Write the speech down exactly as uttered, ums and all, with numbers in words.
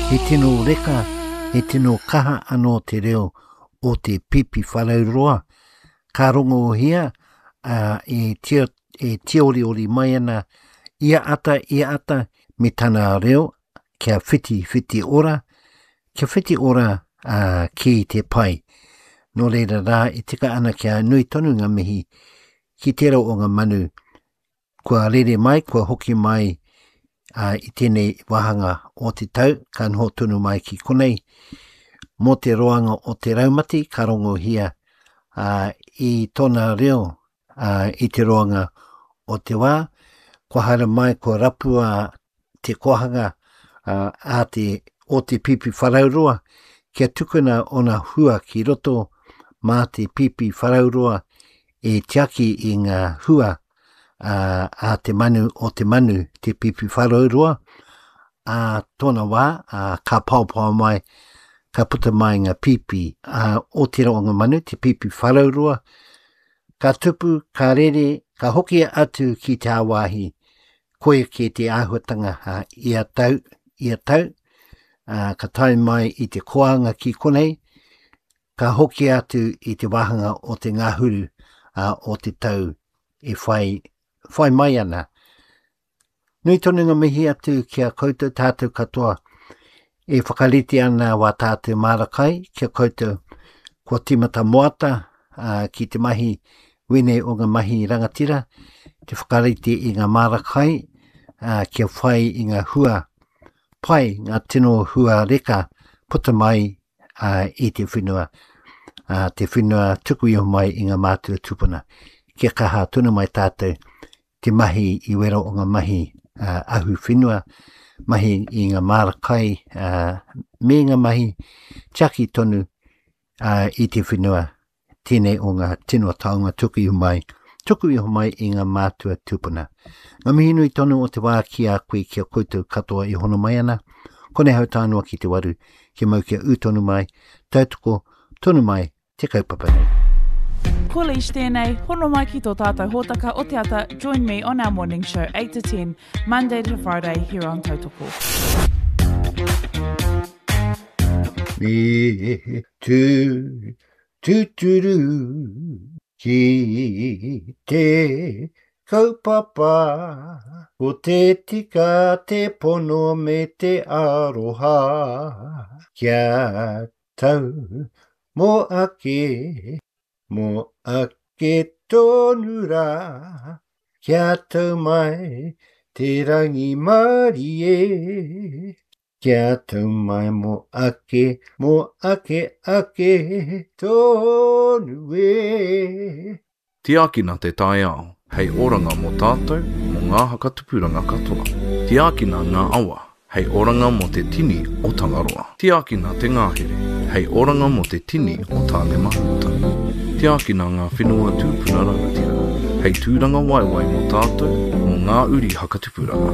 He tino reka, he tino kaha anō te reo o te Pīpīwharauroa. Ka rongohia uh, e, tio, e tioriori mai ana ia ata, ia ata, me tana reo kia whiti whiti ora, kia whiti ora uh, ki te pai. Nō reira rā, e tika ana kia nui tonu ngā mihi ki tērā o ngā manu kua rere mai, kua hoki mai uh, i tēnei wāhanga o te tau, ka noho tonu mai ki konei. Mō te roanga o te raumati, ka rongohia uh, i tōna reo uh, i te roanga o te wā. Kua haere mai, kua rapua te kohanga uh, a te, o te Pīpīwharauroa, kia tukuna ona hua ki roto mā te Pīpīwharauroa e tiaki i ngā hua uh, a te manu o te manu, te Pīpīwharauroa, a tōna wā, uh, ka paopao mai, ka puta mai ngā pīpī uh, o tērā o ngā manu, te Pīpīwharauroa, ka tupu, ka rere, ka hoki atu ki te āwāhi, koia ke te āhuatanga uh, ia tau, ia tau, uh, ka tae mai i te koanga ki konei, ka hoki atu i te wāhanga o te ngahuru uh, o te tau e whai, whai mai ana. Nui tonu ngā mihi atu ki a koutou tātou katoa e whakarite ana wā tātou māra kai ki a koutou kua tīmata moata uh, ki te mahi wene o ngā mahi rangatira, te whakarite i ngā māra kai uh, kia whai i ngā hua pai, ngā tino hua reka puta mai uh, i te whenua, uh, te whenua tuku iho mai i ngā mātua tupuna. Kia kaha tonu mai tātou te mahi i wera o ngā mahi uh, ahu whenua, mahi i ngā māra kai, uh, me ngā mahi tiaki tonu uh, i te whenua, tēnei o ngā tino taonga tuku iho mai, tuku iho mai i ngā mātua tupuna. Ngā mihi nui tonu o te wā ki a koe, ki a koutou katoa i hono mai ana. Konei hau tānoa ki te waru, kia mau kia ū tonu mai, tautoko tonu mai te kaupapa nei. Ko Leish tēnei, hono mai ki tō tātou hōtaka o te ata, join me on our morning show eight to ten, Monday to Friday here on Tautoko. Me tū, tūturu ki te kaupapa, ko te tika te pono me te aroha, kia tau mō ake, mō ake tonu rā, kia tau mai te rangimārie, kia tau mai mō ake, mō ake ake tonu e. Tiakina te taiao, hei oranga mō tātou, mō ngā hakatupuranga katoa. Tiakina ngā awa, hei oranga mō te tini o Tangaroa. Tiakina te ngahere, hei oranga mō te tini o Tāne Mahuta. Tiakina ngā whenua tūpuna rangatira, hei tūranga waiwai mō tātou, mō ngā uri hakatupuranga.